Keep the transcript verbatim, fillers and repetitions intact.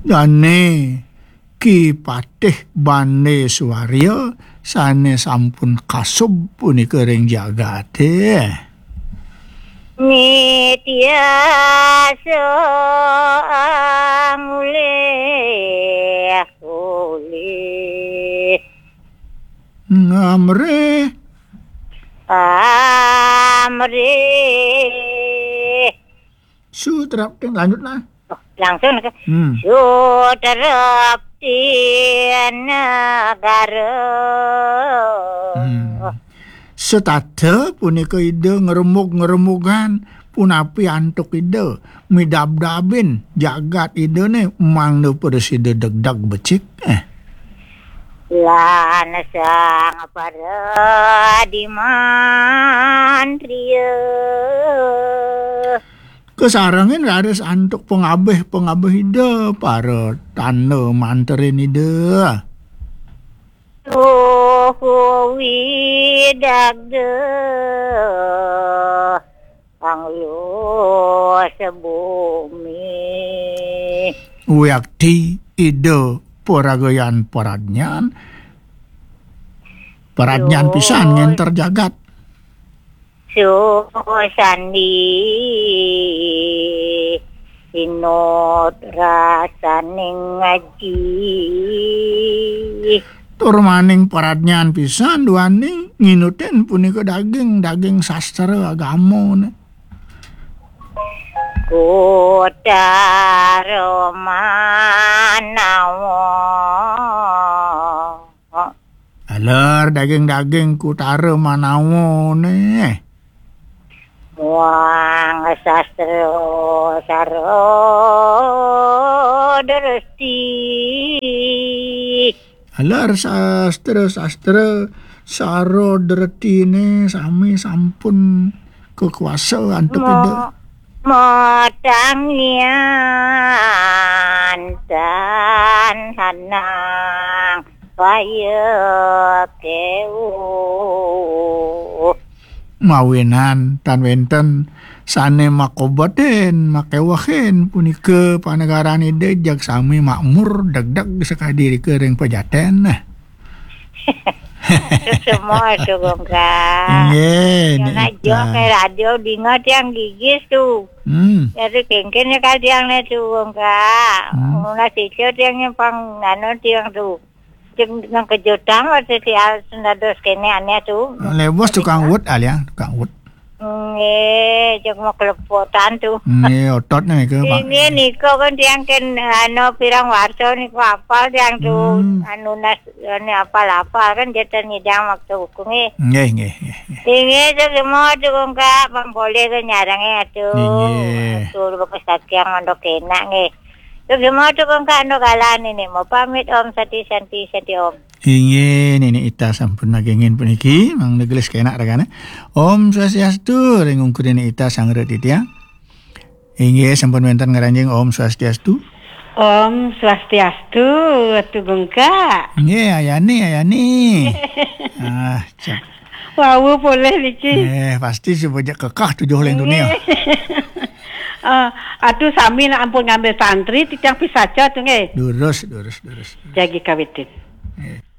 Dane Ki Patih Bande Suwarya sane sampun kasub punika ring jagate. Nitya soang ulih-ulih. Ngamrih. Amrih. Sutrapting, lanjut nah. Oh, langsung ke. Hmm. Sutrapti negara. Hmm. Setata punika Ida ngremug-ngremugin punapi antuk Ida midabdabin jagat Idane mangda prasida degdeg becik. Eh. Lan sang paradiman riya. Kasarengin raris antuk pangabih-pangabih Ida, para tanda manterin Ida. Tuhu widagda anglo sebumi. Wiakti Ida paragayan paradnyan, paradnyan pisan ngenter jagat. Susandi sinut rasaning aji. Tur maning paradnyan pisan duaning nginutin punika daging, daging sastra agama ne. Kutara manawa. Aler daging-daging kutara manawane. Muang sastra sara dresti. Aler sastra-sastra sara dretine sami sampun kakuasa antuk Ida. Matangian tan hanang kaya kewu. Mawinan tan wenten sane makobetin, makewehin punika panegaran Ida jag sami makmur degdeg sakadi rika ring pejaten. Semua tu, Gongka. Nggih, yang nak jual ke radio dinga tiang gigis tu. Hmm. Jadi kengken ya kal tiang ne tu, Gongka. Hmm. Mula sicho tiang yang pang nano tiang tu. Tiang yang kejutan waktu tiang sendados kene ane tu. Lewos tukang wut alia, tukang wut. Nggih, jeg mau kelepotan tu. Nggih, otot nih ke, Pak. Nggih, nika kan tiang ken, anu, pirang warsa niku apal tiang tu. Hmm. Anu nas, anu apal-apal kan jatan nyidang waktu hukum nggih. Nggih, nggih, nggih, nggih. Nggih, tu semua tu kong Kak, pang boleh ke nyarang ya tu. Nggih. Tu bekas kaki yang mondok enak nggih. Tu semua tu kong Kak, anu kalan ini mau pamit Om Sati Santi Santi Om. Inggih, Nini Ita sampun nagingin puniki, mangda gelis kenak ragane. Om Swastiastu, ring ungkur Nini Ita sangra titiang. Inggih, sampun wenten ngranjing Om Swastiastu. Om Swastiastu, Tugungka. Inggih, Ayani, Ayani. Ah, cak. Wau polih niki. Eh, pasti supaya kekah tujuh ling dunia. Inggih. Ah, atuh sami nak ampun ngambil santri, titiang pisaca tuh nggih. Durus, durus, durus. Jagi kawitin. Nggih.